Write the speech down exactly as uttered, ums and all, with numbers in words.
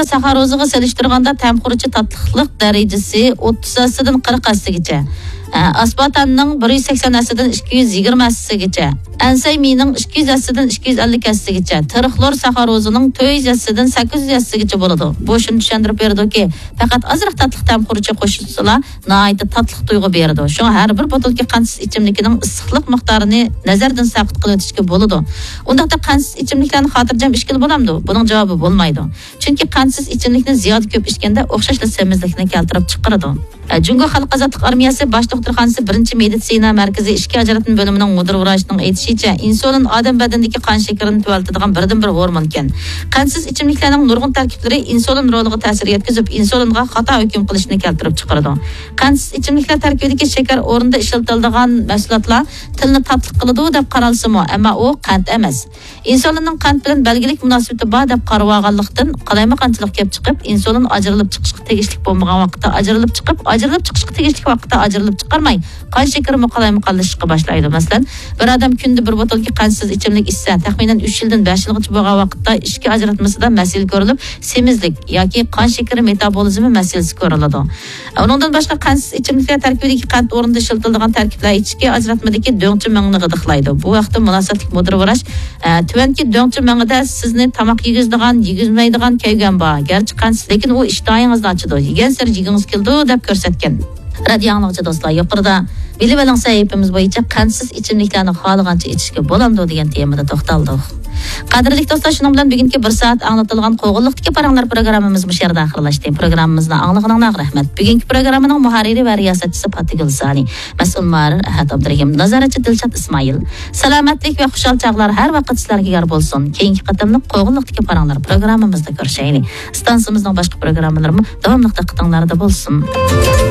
ساخاروزىغا سېلىشتۇرغاندا تەم خۇرۇچى تاتلىقلىق دەرىجىسى ئوتتۇز ھەسسىدىن قىرىق ھەسسىگىچە، ئاسپارتامنىڭ بىر يۈز سەكسەن ھەسسىدىن ئىككى يۈز يىگىرمە ھەسسىگىچە، ئەنسەي مىنىڭ ئىككى يۈز ھەسسىدىن ئىككى يۈز ئەللىك ھەسسىگىچە، تىرىخلور ساخاروزىنىڭ تۆت يۈز ھەسسىدىن سەككىز يۈز ھەسسىگىچە بولىدۇ. بۇ شۇنى چۈشەندۈرۈپ بېرىدۇكى، پەقەت ئازراق تاتلىق تەم خۇرۇچى قوشۇلسىلا، ناھايىتى تاتلىق تۇيغۇ بېرىدۇ. شۇڭا ھەر بىر بوتۇلكا قەنتسىز ئىچىملىكىنىڭ ئىسسىقلىق مىقدارىنى نەزەردىن ساقىت قىلىۋېتىشكە بولىدۇ. ئۇنداقتا قەنتسىز ئىچىملىكلەرنى خاتىرجەم ئىچكىلى بولامدۇ؟ بۇنىڭ جاۋابى بولمايدۇ. چۈنكى قەنتسىز ئىچىملىكنى زىيادە كۆپ ئىچكەندە ئوخشاشلا سېمىزلىكنى كەلتۈرۈپ چىقىرىدۇ. ئە، جۇڭگو خەلق ئازادلىق ئارمىيەسى باش دوختۇرخانىسى بىرىنچى مېدىتسىنا مەركىزى ئىچكى ئاجراتما بۆلۈمىنىڭ مۇدىر ۋراچىنىڭ ئېيتىشىچە، ئىنسۇلىن ئادەم بەدىنىدىكى قان شېكىرىنى تۆۋەنلىتىدىغان بىردىنبىر ھورمونكەن. قەنتسىز ئىچىملىكلەرنىڭ نۇرغۇن تەركىبلىرى ئىنسۇلىن رولىغا تەسىر يەتكۈزۈپ، ئىنسۇلىنغا خاتا ھۆكۈم قىلىشنى كەلتۈرۈپ چىقىرىدۇ. قەنتسىز ئىچىملىكلەر تەركىبىدىكى شېكەر ئورنىدا ئىشلىتىلىدىغان مەھسۇلاتلار تىلنى تاتلىق قىلىدۇ دەپ قارالسىمۇ، ئەمما ئۇ قەنت ئەمەس. ئىنسۇلىننىڭ قەنت بىلەن بەلگىلىك مۇناسىۋىتى بار دەپ قارىۋالغانلىقتىن، قالايمىقانچىلىق كېلىپ چىقىپ، ئىنسۇلىن ئاجرىلىپ چىقىشقا تېگىشلىك بولمىغان ۋاقىتتا ئاجرىلىپ چىقىپ، ئاجرىلىپ چىقىشقا تېگىشلىك ۋاقىتتا ئاجرىلىپ چىقارماي، قان شېكىرىمۇ قالايمىقانلىشىشقا باشلايدۇ. مەسىلەن، بىر ئادەم كۈندە بىر بوتۇلكا قەنتسىز ئىچىملىك ئىچسە، تەخمىنەن ئۈچ يىلدىن بەش يىلغىچە بولغان ۋاقىتتا ئىچكى ئاجراتمىسىدا مەسىلە كۆرۈلۈپ، سېمىزلىك ياكى قان شېكىرى مېتابولىزمى مەسىلىسى كۆرۈلىدۇ. ئۇنىڭدىن باشقا، قەنتسىز ئىچىملىكلەر تەركىبىدىكى قەنت ئورنىدا ئىشلىتىلىدىغان تەركىبلەر ئىچكى ئاجراتمىدىكى دۆڭچە مېڭىنى غىدىقلايدۇ. بۇ ھەقتە مۇناسىۋەتلىك مۇدىر ۋراچ، ئە، تۆۋەنكى دۆڭچە مېڭىدە سىزنى تاماق يېگۈزىدىغان، يېگۈزمەيدىغان كەلگەن بار. گەرچە قەنتسىز، لېكىن ئۇ ئىشتىھاڭىزنى ئاچىدۇ، يېگەنسېرى يېگۈڭىز كېلىدۇ، دەپ كۆرسەتكەن. رادىئو ئاڭلىغۇچى دوستلار، يۇقىرىدا بىلىۋېلىڭ سەھىپىمىز بويىچە قەنتسىز ئىچىملىكلەرنى خالىغانچە ئىچىشكە بولامدۇ دېگەن تېمىدا توختالدۇق. قەدىرلىك دوستلار، شۇنىڭ بىلەن بۈگۈنكى بىر سائەت ئاڭلىتىلغان قوغۇنلۇقتىكى پاراڭلار پروگراممىمىز مۇشۇ يەردە ئاخىرلاشتى. پروگراممىمىزنى ئاڭلىغىنىڭلارغا رەھمەت. بۈگۈنكى پروگراممىنىڭ مۇھەررىرى ۋە رىياسەتچىسى پاتىگۈل سانى، مەسئۇل مۇھەررىر ئەھەت ئابدۇرېھىم، نازارەتچى دىلشات ئىسمائىل. سالامەتلىك ۋە خۇشال چاغلار ھەر ۋاقىت سىلەرگە يار بولسۇن. كېيىنكى قېتىملىق قوغۇنلۇقتىكى پاراڭلار پروگراممىمىزدا كۆرۈشەيلى. ئىستانسىمىزنىڭ باشقا پروگراممىلىرىمۇ داۋاملىق دىققىتىڭلاردا بولسۇن.